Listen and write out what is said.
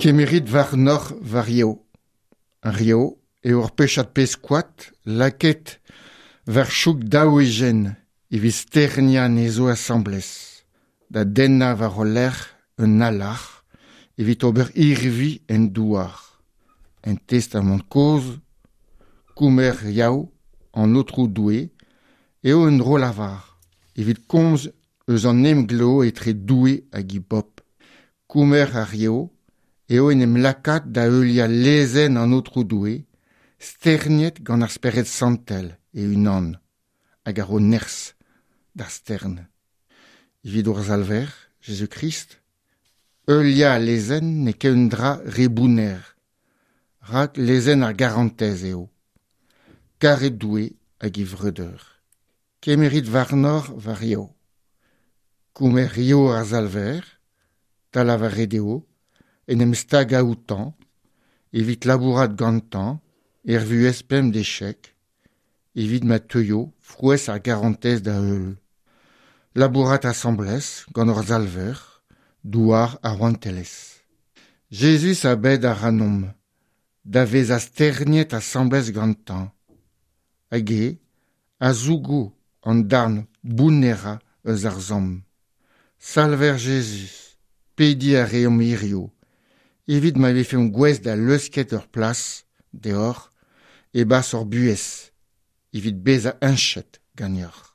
Kemerit warnoc'h war yeo. Ar yeo eo ur pechad pezh koad lakaet war chouk daou ejen evit sterniañ anezho asambles, da dennañ war o lerc'h un alarc'h evit ober irvi en douar. En Testamant kozh, koumer Yaou, an Aotrou Doue, eo un dro-lavar evit komz eus an emglev etre Doue hag e bobl. Koumer ar yeo eo en em lakaat da heuliañ lezenn an Aotrou Doue, sterniet gant ar Spered Santel e-unan, hag a ro nerzh d'ar stern. Evit hor Salver, Jezuz-Krist, heuliañ al lezenn n'eo ket un dra re bounner, rak lezenn ar garantez eo. Karet Doue hag e vreudeur. Kemerit warnoc'h war eo. Koumer eo ar Salver, da lavaret eo, en em stagañ outañ, evit labourat gantañ er vuhez pemdeziek, evit ma teuio frouezh ar garantez da heul. Labourat asambles gant hor Salver, douar ar rouantelezh. Jezuz a bed ac'hanomp da vezañ sterniet asambles gantañ, hag eo a zougo an darn bounnerañ eus ar samm. Salver Jezuz, pediñ a reomp hiziv evit ma vefemp gouest da leuskel ur plas deoc'h e-barzh hor buhez evit bezañ heñchet ganeoc'h.